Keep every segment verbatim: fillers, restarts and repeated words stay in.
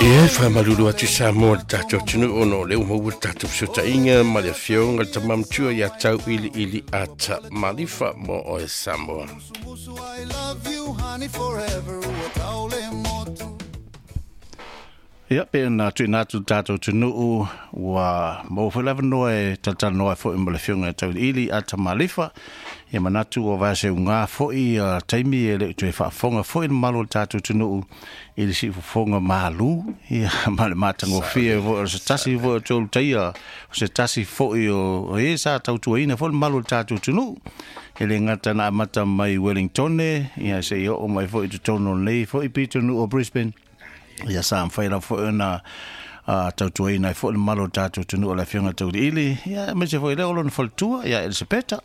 Ia whamalulu atu Samoa le tātou tunu ono o le umaua le tātou sutainga ma le afioga le tamamtua ia tau ili ili ata malifa mo oe Samoa. Ia pe na tuina atu tātou tunuu ua mau foi lava noa e tatalanoa foi ma le afioga ia Tauiliili Ata Malifa. Ia manatu ua vae unga foi uh, taimi e le toe faafofoga foi le mamalu o le tātou tunuu i le siufofoga malu ia ma le matagofie foi o se tasi foi o tolu taia o se tasi foi o e sa tautuaina foi le mamalu o le tātou tunuu e le gata na amata mai Wellingtone ia seia oo mai foi i totonu o lenei foi pitonuu o Brisbane. Ia sa mawhai la foi ona uh, tautuaina ai foi le mamalu o le tātou tunuu o le afioga Tauiliili ia aemaise foi lea o lona faletua ia Elisapeta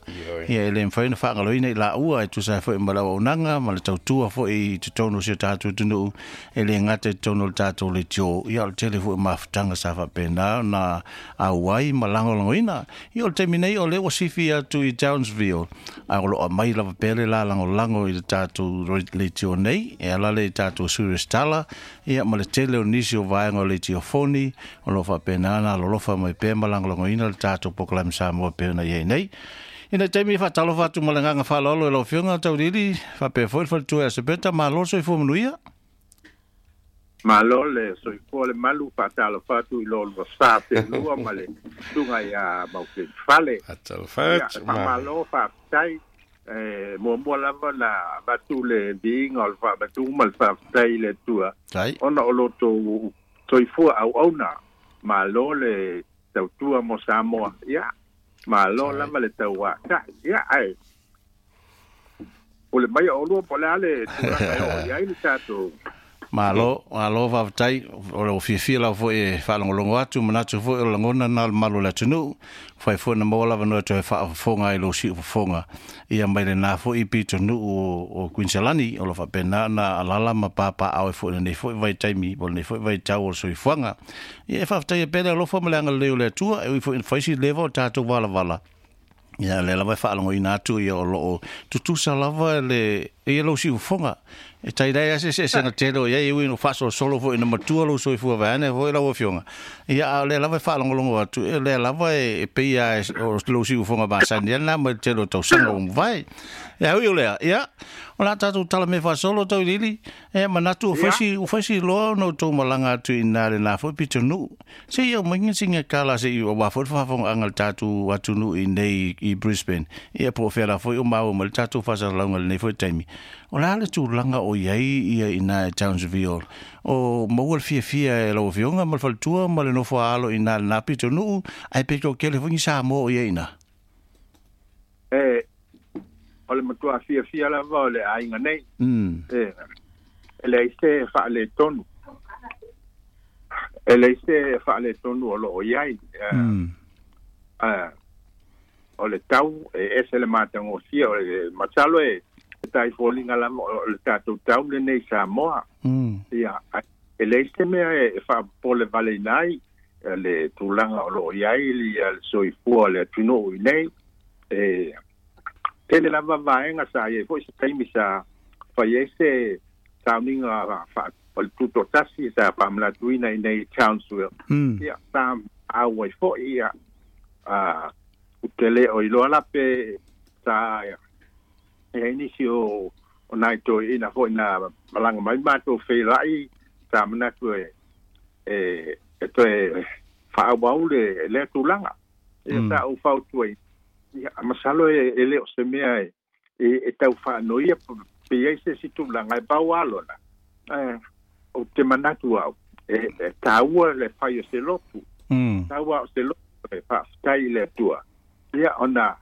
ia e le mafai ona faagaloina i laua e tusa ai foi ma le auaunaga ma le tautua foi i totonu o si o tātou tunuu e le gata i totonu o le tātou leitio ia o le tele foi o mafutaga sa faapena ona auai ma lagolagoina ia o le taimi nei o lea ua sifi atu i Townsville a o loo aumai lava pea le la lagolago i le tātou leitio nei e ala le i tātou Sirius Tala ia ma le tele o nisi o vaega o leitio foni o loo faapena na alolofa mai pea ma lagolagoina le tātou polokalame Samoa pea ona iai nei. Ina taimi e faatalofa atu ma le agaga faaaloalo i lau afioga Tauiliili faapea foi le faletua ia Sepeta malo le soifua manuia. Malo le soifua le malu faatalofa atu i lo lua sa pelua ma le susuga ia Maukeni Fale. Faatalofa atu. Ia faamalo faafetai e muamua lava na avatu le viiga o le faamatuga ma le faafetai i le Atua ona o lo outou soifua auauna. Malo le tautua mo Samoa. Ia malo lava le tauatai. Ia ae o le mai o lua po o le a le tulaga e oo i ai le tatou. Malo, malo faafetai o le fiafia lava foi e faalogologo atu manatu foi o le lagona na o le mamalu o le atunuu fai foi na maua lava noa toe faafofoga ai lou siufofoga ia mai lenā foi pitonuu o, o Queensland o lo faapena ona alala ma papaao ai foi lenei foi vaitaimi po o lenei foi vaitau o le soifuaga. Ia e faafetaia pea le alofa ma le agalelei o le Atua e ui foi ina fai si leva o tatou valavala. Ia lea lava e faalogoina atu ia o loo tutusa lava le ia lou siufofoga. E tai lai lava se eseesega tele o i ai e ui ina faasolosolo foi ina matua lou soifua vaeane foi lau afioga. Ia a o lea lava e faalogologo atu, o lea lava e pei lava o lou siufofoga masani lena mai le tele o tausaga ua mavae. Ia ui o lea, ia o le a tatou tala mea faasolo Tauiliili, e manatu ua fai si ua fai si loa ona outou malaga atu i ina lenā foi pitonuu. Se i aumai sina tala se i aua foi le faafofogaaga a le tatou atunuu i inei i Brisbane. Ia po o fea la foi o maua mai le tatou faasalalauga i lenei foi taimi. O le a le tulaga o i ai ia ina e Townsville? O maua le fiafia e lau afioga ma le faletua ma le nofo a alo i ina lenā pitonuu, ae pe toatele foi ni Samoa o i ai i ina? E, o le matua fiafia lava o le aiga nei. Mm. E, e leai se faaletonu. E leai se faaletonu o loo i ai. Mm. Uh, o le tau e ese le matagofie o le masalo e tai foliga lava o le tatou tau lenei Samoa. Mm. Ia, e leai se mea e faapopole valeina ai le tulaga o loo i ai le soifua o le atunuu i nei. E tele lava vaega sa iai foi se taimi sa fai ai se sauniga fa o le tutoatasi sa faamanatuina i nei Townsville. Mm. Ia sa auai foi ia a ou te le o iloa la pe sa e ai nisi o o nai toeaiina foi na malaga mai matou feiloai sa manatu e e e toe faaauau le lea tulaga. Ia Mm. sa ou fautuaina. Ia, masalo e, e le o se mea e, e, e tau faanoia pe i ai se isi tulaga e pau lona. Eh, o te manatu au, e, e taua le fai o se lotu. Mm. Taua o se lotu e faafetai i le Atua. Ia, ona,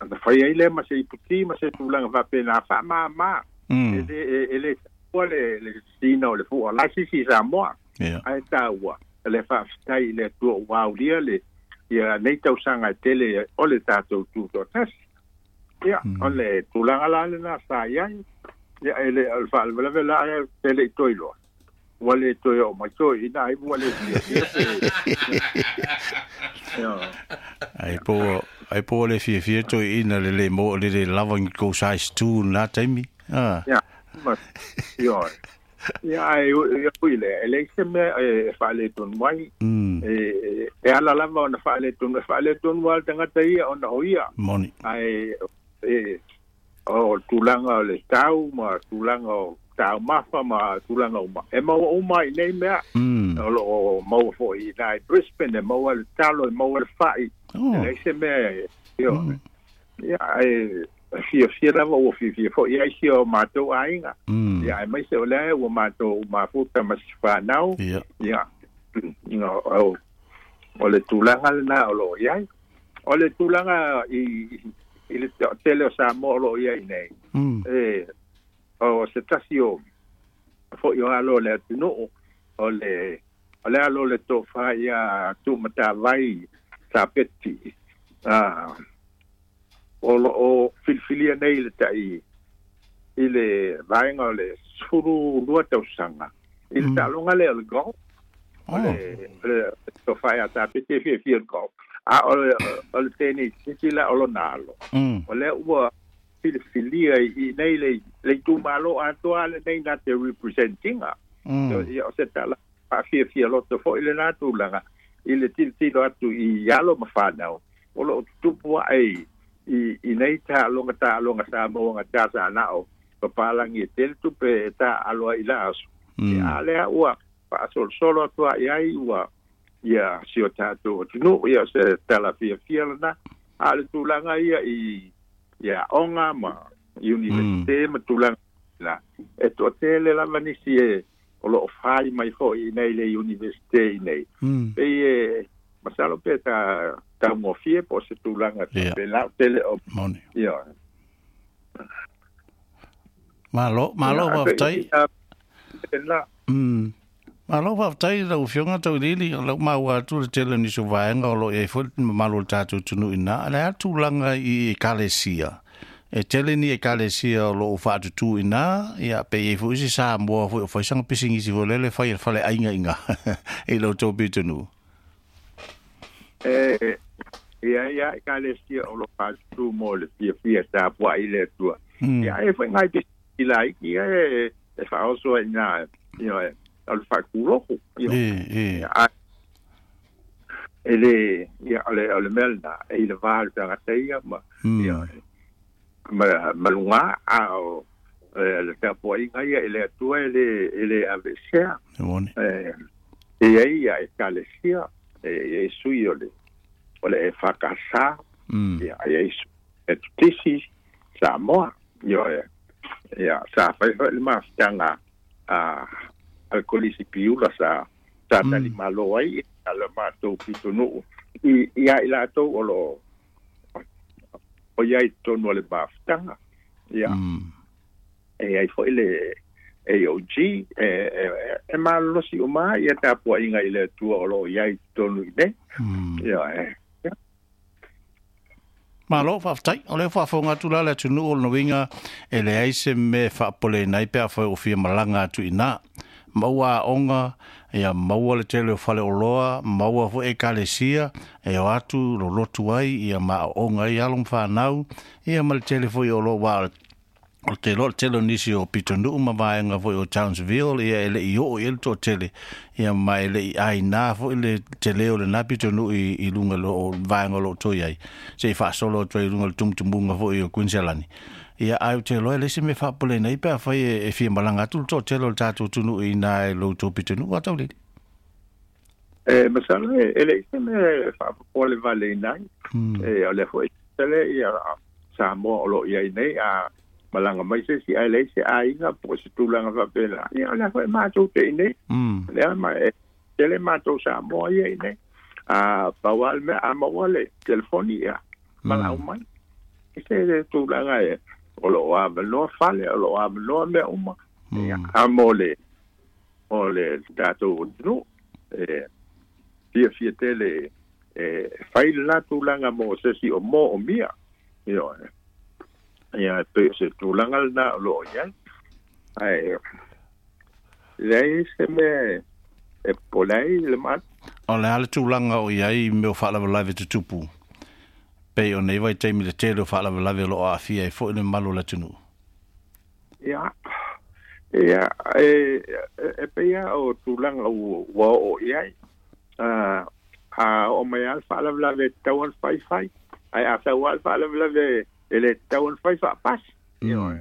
ona fai ai lea ma se iputi ma se tulaga faapena faamāmā. Mm. E le, e, e le taua le, le sina o le fua lai sisi i Samoa. Ia. Ae taua le faafetai i le Atua ua aulia le ia nei tausaga e tele o le tatou tutoatasi. Ia, Mm. o le tulaga la lena sa i ai. Ia, e le, o le faalavelave la e te le i toe iloa. Ua le toe oo mai toe ina ai ua le fiafia pe. Ia. Ai po ai po le fiafia toe ina le le mo le le lava ni kou size two na taimi. Ah. Ia, ma, ia. Ia ai ui le e leai se mea e faaletonu ai e e ala lava ona faaletonu e faaletonu a le tagata ia ona o ia moni ae e o tulaga o le tau ma tulaga o taumafa ma tulaga uma e maua uma i nei mea o loo maua foʻi i i Brisbane e maua le talo e maua le fa'i e leai se mea io ia e fiafia lava ua fiafia foʻi ai si o matou aiga ia aemaise o lea ua matou mafuta ma si fanau ia o o le tulaga lena o loo iai o le tulaga i i le tele o Samoa o loo iai nei e o se tasi o foʻi o alo o le atunuu o le o le alo o le tofa ia tuumatavai Sapeti a o loo filifilia nei le taʻi i le vaega o le sefulu lua tausaga i le taaloga lea o le golf o le o le tofa ia Sapeti e fiafia le golf a o le o le tenisi la o lona alo o lea ua filifilia i nei le le itumalo atoa lenei na te representinga ia o se tala faafiafia loto foʻi lenā tulaga i le tilotilo atu i alo ma fanau o loo tutupu aʻe i i nei taaloga taaloga Samoa ga tasanao papalagi e tele tupe e taaalo ai i la aso ia a lea ua faasolosolo atu ai ai ua ia si o tatou atunuu ia o se tala fiafia lena a le tulaga ia i ia aoga ma universite ma tulaga la e toatele lava nisi e o loo fai mai foʻi i nei le universite i nei pei e masalo pe ta taugofie po o se tulaga faapena tele o moni ia malo malo faafetai la mm malo faafetai lau Afioga Tauiliili o lau maua atu le tele o nisi o vaega o loo iai foi le mamalu o le tatou atunuu ina le a tulaga i ekalesia e tele ni ekalesia o loo faatutū ina ia pe iai foi isi Samoa foi o faisaga pisinisi foi lele fai e le faleaiga iga i lo outou pitonuu e ia ia ekalesia o loo faatutū mo le fiafia tapuaʻi le Atua ia e foi ngai pisinisi laiki ia e e faaoso ai ina ia o le faakuloku ia e e le ia o le o le mea lena e i le va o le tagata ia ma ia ma maluga a o le tapuaiga ia i le Atua e le e le aveesea e e ai ia ekalesia e e sui o le o le E F K S ia e e tutisi Samoa ia ia sa fai foi le mafutaga a a le Kolisi Piula sa sa talimalo ai a le matou pitonuu i ia i latou o loo o iai totonu o le mafutaga ia e ai foi le A O G e e e malolosi uma ia tapuaiga i le Atua o loo iai totonu i nei ia e Malo, faafetai. O lea faafofoga atu la le atunuu o le uiga e leai se mea faapopoleina ai pe afai o fia malaga atu i ina. Maua aoga, ia maua le tele o faleoloa, maua foi ekalesia, e o atu lolotu ai, ia ma aoga ai alo ma fanau, ia ma le tele foi o loo wa o te lo tele o nisi o pitonuu ma vaega foi o Townsville ia e leʻi oo i ai le toatele ia ma e leʻi ainá foi le tele o lenā pitonuu i, i luga lo o vaega o loo toi ai se i faasolo atu ai i luga o le tumutumuga foi o Queensland ia ai ou te iloa e leai se mea faapopoleina ai pe afai e, e fia malaga atu le toatele o le tatou atunuu i ina e lo outou pitonuu a Taulili. E masalo e e leai se mea faapopole valeina ai e o lea foi tele ia Samoa o loo iai nei a malaga mai se isi ae leai se aiga po o se tulaga faapena ia o lea foi matou te i nei lea ma e tele matou Samoa ia i nei a pau lava le mea a maua le telefoni ia malau mai se le tulaga e o loo avanoa fale o loo avanoa mea uma ia a mo le o le tatou atunuu e fiafia tele e fai lena tulaga mo se isi o mo o mia ioe ia pe o se tulaga lena o loo iai ae leai se mea e popole ai le ma O le a le tulaga o i ai mea o faalavelave tutupu pei o nei vaitaimi le tele o faalavelave o loo aafia ai foi le mamalu o le atunuu. Ia Ia e e pei o tulaga ua oo i ai a a o mai al faalavelave tatau ona faifai ae a sau a le faalavelave e lē tatau ona fai faapasi ioe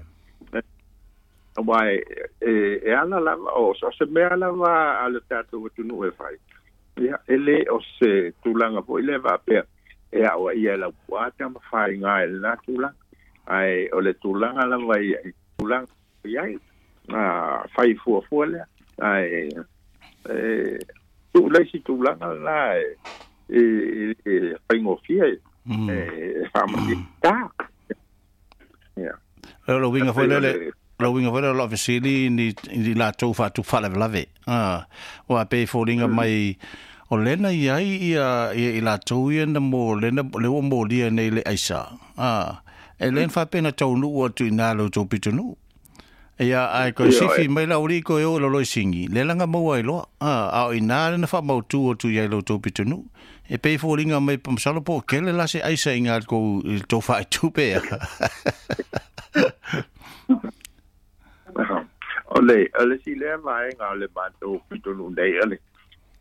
auā e e ala lava o so se mea lava a le tatou atunuu e fai ia e lē o se tulaga foʻi lea faapea e aʻoaʻia e laupuaa tamafaiga e lenā tulaga ae o le tulaga lava ia i tulaga i ai a fai fuafua lea ae e tuu le isi tulaga lenā e e e faigofie e faamatita ia o lo uiga foi lele lo uiga foi lele o loo fesili ni i latou faatupu faalavelave a ua pei foliga mai o lena iai ia ia i latou ia na mo lena le ua molia nei le aisa a e lē faapena taunuu atu i nā lo tou pitonuu ia ai ko sifi mai la uri ko yo lo lo singi le langa maua i loa a a o ina le na faamautu atu iai lo tou pitonuu e pei foliga mai pamasalo po kele la se aisa i ngā kou i tou faatupe ia o le o le si lea vaega o le matou pitonuu nei o le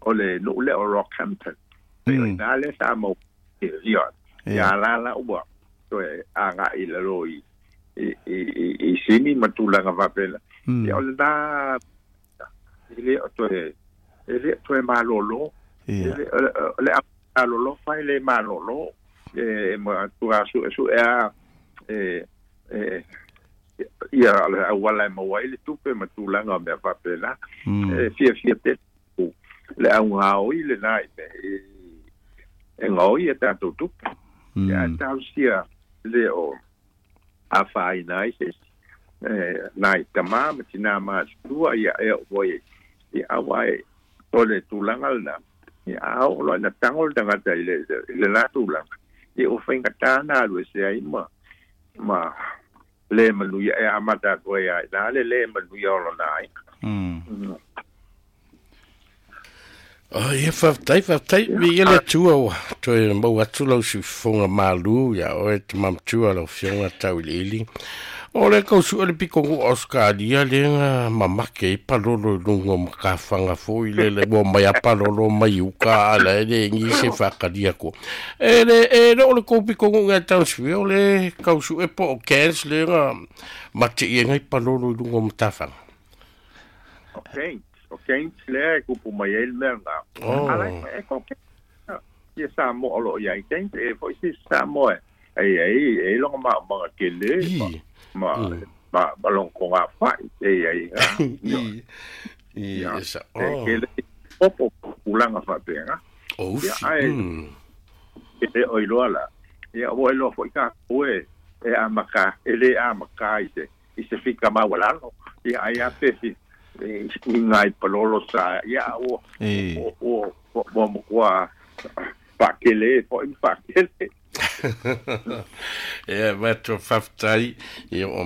o le nuu lea o Rockhampton e o ina le sa mau ia ia la la ua toe agaʻi i lalo i i i i sini ma tulaga faapena ia o lenā e lē o toe e lē toe malōlō o le alolo fai le malōlō e ma tua suʻesuʻe a e e ia le auala e maua ai le tupe ma tulaga o mea faapena e fiafia tele le augaoi lenā i mea e gaoi e tatou tupe ia talosia le o afaina ai se isi e nai tamā ma tinā matutua ia e oo foi ia auā e o le tulaga lenā ia a oo loa ina tago le tagata i le lenā tulaga ia ua faigatā na alu ese ai ma ma lē manuia e amata atu ai a inā le lē manuia o lona aiga. Oh, ia faafetai faafetai viia le Atua ua toe maua atu lau siufofoga malū ia oe tamamatua lau afioga tauiliili o le kausuʻe le pitonuu Australia lega mamake ai palolo i luga o matafaga foʻi lele ua mai a palolo mai uka ala e legi se faakalia atua e le e le o le kou pitonuu gai Townsville le kausuʻe po o Cairns lega mateʻi ai palolo i luga o matafaga. O o Cairns lea e kupu mai ai le mea lena. Ala e ko ia Samoa o loo iai Cairns e foʻi se Samoa e ai e loga maʻamaga kele ma ma ma ma lona togafaʻi e ai i sa e kele popo tulaga faapena o ia ae e o iloa la ia ua iloa foʻi tatou e e amaka e lē amaka i se i se fika maualalo ia ai a pe i ngai palolo sa ia ua ua ua ua faakele foʻi ma faakele ia matou faafetai ia o